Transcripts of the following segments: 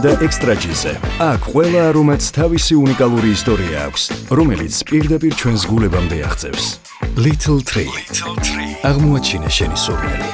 და ექსტრაჯიზე. აქ ყველა არომატს თავისი უნიკალური ისტორია აქვს, რომელიც პირდაპირ ჩვენს გულებამდე აღწევს. Little Tree. აღმოაჩინე შენი სურნელი.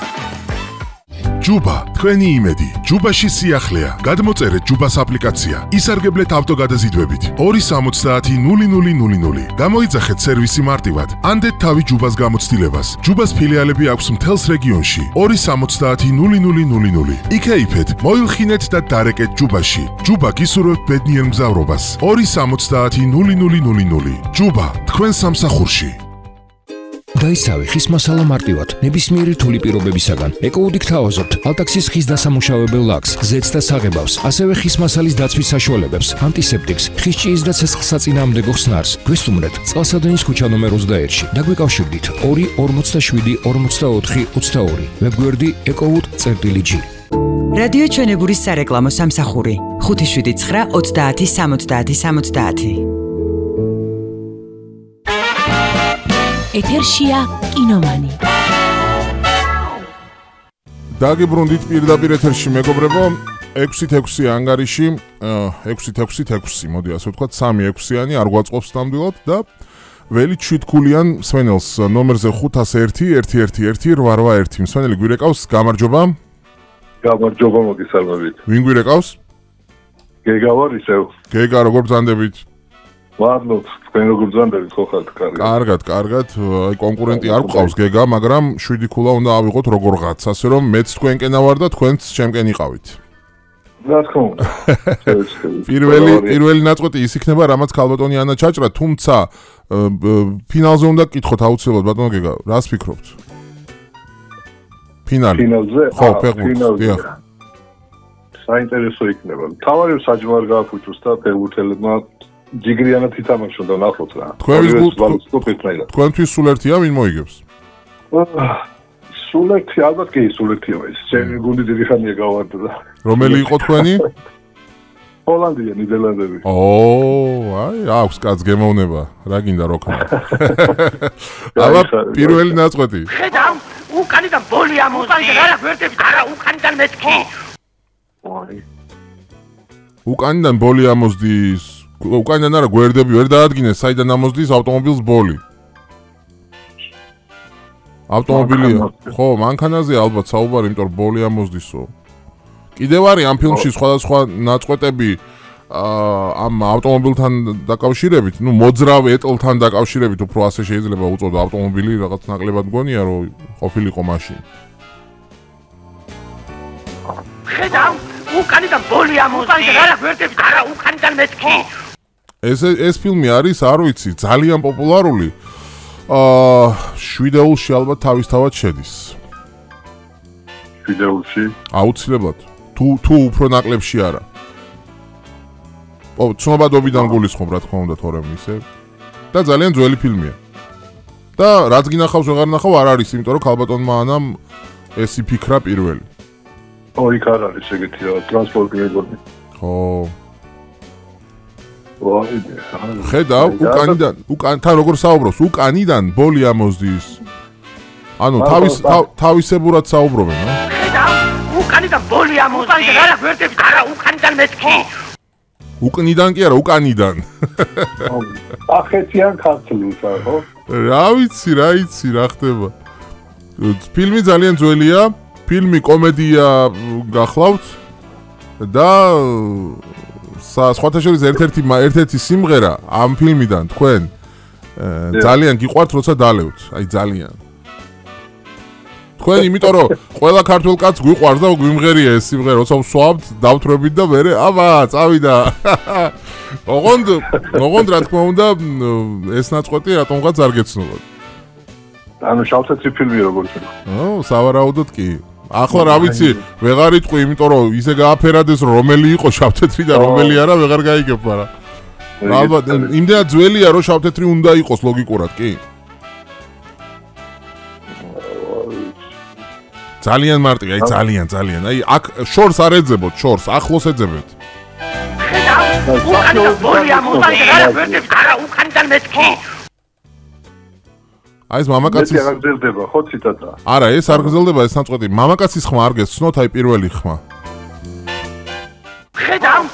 ჯუბა, თქვენი იმედი. ჯუბაში სიახლეა. გადმოწერეთ ჯუბას აპლიკაცია. ისარგებლეთ ავტოგადაზიდვებით. 270-0000. გამოიძახეთ სერვისი მარტივად. ანდეთ თავი ჯუბას გამოცდილებას. ჯუბას ფილიალები აქვს მთელს რეგიონში. 270-0000. იქეიფეთ, მოილხინეთ და დარეკეთ ჯუბაში. ჯუბა გისურვებთ ბედნიერ მგზავრობას. 270-0000. ჯუბა, თქვენ სამსახურში. დაისავი ხის მასალა მარტივად, ნებისმიერი რთული პირობებისაგან. ეკოუდით თავაზობთ ალტაქსის ხის დასამუშავებელ ლაქს, ზეთს და საღებავს, ასევე ხის მასალის დაცვის საშუალებებს, ანტისეპტიკს, ხის ჭიის და ცეცხლსაწინააღმდეგო ხსნარს. გვესტუმრეთ წყალსადენის ქუჩა ნომერ 21-ში და გვეკავშირდით 247-44-22. ვებგვერდი ecowood.gr. რადიო ჩვენებურის სარეკლამო სამსახური 579-30-70-70. ეთერშია კინომანი. დაგიბრუნდით პირდაპირ ეთერში მეგობრებო, 6-6 ანგარიში, 6-6-6, მოდი ასე ვთქვათ, 3-6-იანი არ გვაწყობს ნამდვილად და ველი 7-ქულიან მსმენელს ნომერზე 501-111-881. მსმენელი გვირეკავს, გამარჯობა. გამარჯობა, მოგესალმებით. ვინ გვირეკავს? გეგა ვარ ისევ. გეგა, როგორ ბრძანდებით? მადლობ, თქვენ როგორ ბრძანდებით, ხო ხართ, კარგად. კარგად, აი კონკურენტი არ გვყავს გეგა, მაგრამ 7 ქულა უნდა ავიღოთ როგორღაც, ასე რომ მეც თქვენკენა ვარ და თქვენც ჩემკენ იყავით. რა თქმა უნდა. პირველი ნაწყვეტი ის იქნება, რამაც ქალბატონი ანა ჩაჭრა, თუმცა ფინალზე უნდა გკითხოთ აუცილებლად, ბატონო გეგა, რას ფიქრობთ? ფინალზე? ხო, ფეხბურთი. საინტერესო იქნება. თავარი საჯმარ გააფუჭოს და ფეხბურთელებმა ჯიგრიანად ითამაშონ და ნახოთ რა. თქვენთვის სულ ერთია, ვინ მოიგებს? სულ ერთი, ალბათ კი სულ ერთია ეს. ჩემი გუნდი დიდი ხანია გავარდა და. რომელი იყო თქვენი? ჰოლანდია, ნიდერლანდები. აი, აქვს კაც გემოვნება. რა გინდა როქნა? აბა, პირველი ნაწყვეტი. ხედავ, უკანიდან ბოლი ამოდი. არა, გვერდები, არა, უკანიდან მეთქი. უკანიდან ბოლი ამოსდის. უკანიდან არა გვერდები ვერ დაადგინეს, საიდან ამოსდის ავტომობილს ბოლი. ავტომობილია. ხო, მანქანაზე ალბათ საუბარი, იმიტომ რომ ბოლი ამოსდისო. კიდევ არის ამ ფილმში სხვადასხვა ნაწყვეტები ამ ავტომობილთან დაკავშირებით, ნუ მოძრავ ეტლთან დაკავშირებით, უფრო ასე შეიძლება უწოდო ავტომობილი, რაღაც ნაკლებად მგონია, რომ ყოფილიყო მაშინ. ხედავ, უკანიდან ბოლი ამოდი. არა, გვერდები, არა, უკანიდან მეთქი. ეს ფილმი არის, არ ვიცი, ძალიან პოპულარული. 7-ში ალბათ თავისთავად შედის. 7-ში? აუცილებლად. თუ უფრო ნაკლებში არა. ცნობადობიდან გულისხმობ, რა თქმა უნდა, თორემ ისე. და ძალიან ძველი ფილმია. და რაც გინახავს, ვეღარ ნახავ, არ არის, იმიტომ რომ ქალბატონმა ანამ ეს იფიქრა პირველი. იქ არ არის ეგეთი რა, ტრანსპორტი მეგონი. ხო. ხედავ, უკანიდან როგორ საუბრობს, უკანიდან ბოლი ამოსდის. ანუ თავისებურად საუბრობენ, რა? ხედავ, უკანიდან ბოლი ამოსდის. არა, გვერდები, არა, უკანიდან მეთქი. უკნიდან კი არა, უკანიდან. ახეთიან ქართულს, ხო? რა ვიცი, რა ხდება. ფილმი ძალიან ძველია, ფილმი კომედია გახლავთ და სხვათა შორის ერთ-ერთი სიმღერა ამ ფილმიდან თქვენ ძალიან გიყვართ, როცა დალევთ, აი ძალიან. თქვენ იმიტომ რომ ყველა ქართულ კაცს გვიყვარს და გვიმღერია ეს სიმღერა, როცა ვსვამთ, დავთვრებით და მერე აბა, წავიდა. ოღონდ რა თქმა უნდა, ეს ნაწყვეტი რატომღაც არ გეცნობათ. ანუ შავთეთრი ფილმი როგორც იყო. სავარაუდოდ კი. ახლა რა ვიცი, ვეღარ იტყვი, იმიტომ რომ ისე გააფერადეს, რომელი იყო შავთეთრი და რომელი არა, ვეღარ გაიგებ, მაგრამ ალბათ იმდენად ძველია, რომ შავთეთრი უნდა იყოს ლოგიკურად, კი? ძალიან მარტივი, აი ძალიან. აი აქ შორს არ ეძებოთ, შორს ახლოს ეძებეთ. უკანიდან ბოლი ამოდი. არა, გვერდები, არა, უკანიდან მეთქი. აი ეს მამაკაცის არ გრძელდება, ხო ციტატა? არა, ეს არ გრძელდება, ეს ნაწყვეტი. მამაკაცის ხმა არ გესცნოთ, აი პირველი ხმა. ხედავ